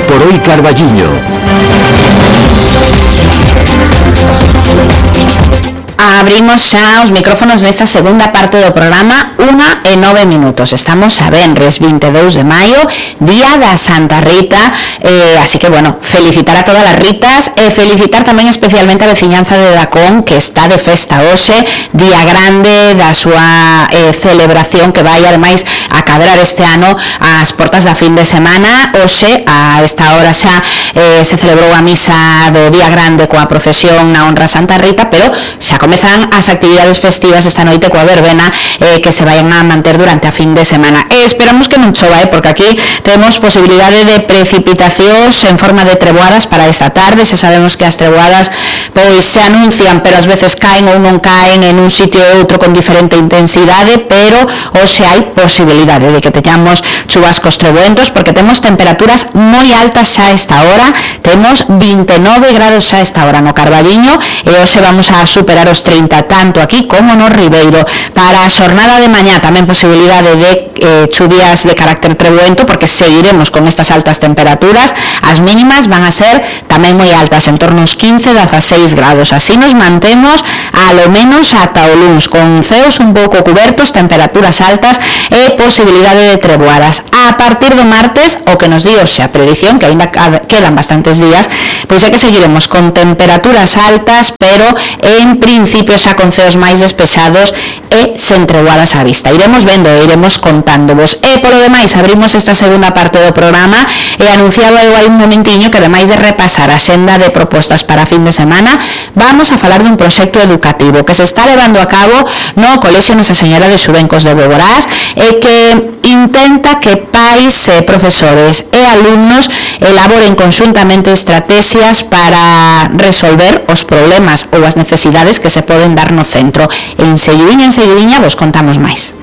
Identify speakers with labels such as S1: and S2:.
S1: por hoy Carballiño.
S2: Abrimos xa os micrófonos nesta segunda parte do programa, 1:09. Estamos a venres 22 de maio, día da Santa Rita, así que, bueno, felicitar a todas as Ritas e felicitar tamén especialmente a veciñanza de Dacón, que está de festa hoxe, día grande da súa celebración que vai ademais a cadrar este ano ás portas da fin de semana. Hoxe, a esta hora xa se celebrou a misa do día grande coa procesión na honra a Santa Rita, pero xa comezan as actividades festivas esta noite coa verbena que se vayan a manter durante a fin de semana. Esperamos que non chova, porque aquí temos posibilidade de precipitacións en forma de treboadas para esta tarde. Xa sabemos que as treboadas pois se anuncian, pero ás veces caen ou non caen en un sitio ou outro con diferente intensidade, pero hoxe hai posibilidade de que teñamos chubascos treboentos, porque temos temperaturas moi altas xa a esta hora. Temos 29 grados xa a esta hora no Carballiño e hoxe vamos a superar os 30 tanto aquí como no Ribeiro. Para a xornada de mañá tamén posibilidade de chuvias de carácter treboento, porque seguiremos con estas altas temperaturas. As mínimas van a ser tamén moi altas, en torno aos 15-16 grados. Así nos mantemos a lo menos ata o luns, con ceos un pouco cubertos, temperaturas altas e posibilidade de treboadas. A partir do martes, o que nos di hoxe a predición, que ainda quedan bastantes días, pois é que seguiremos con temperaturas altas, pero en principio xa con ceos máis despexados e sen treboadas á vista. Iremos vendo e iremos contándovos. E polo demais, abrimos esta segunda parte do programa e anunciaba eu hai un momentiño que ademais de repasar a xenda de propostas para a fin de semana, vamos a falar dun proxecto educativo que se está levando a cabo no Colexio Nosa Señora de Xuvencos de Boborás e que intenta que pais, profesores e alumnos elaboren conxuntamente estrategias para resolver os problemas ou as necesidades que se poden dar no centro. Enseguidiña vos contamos máis.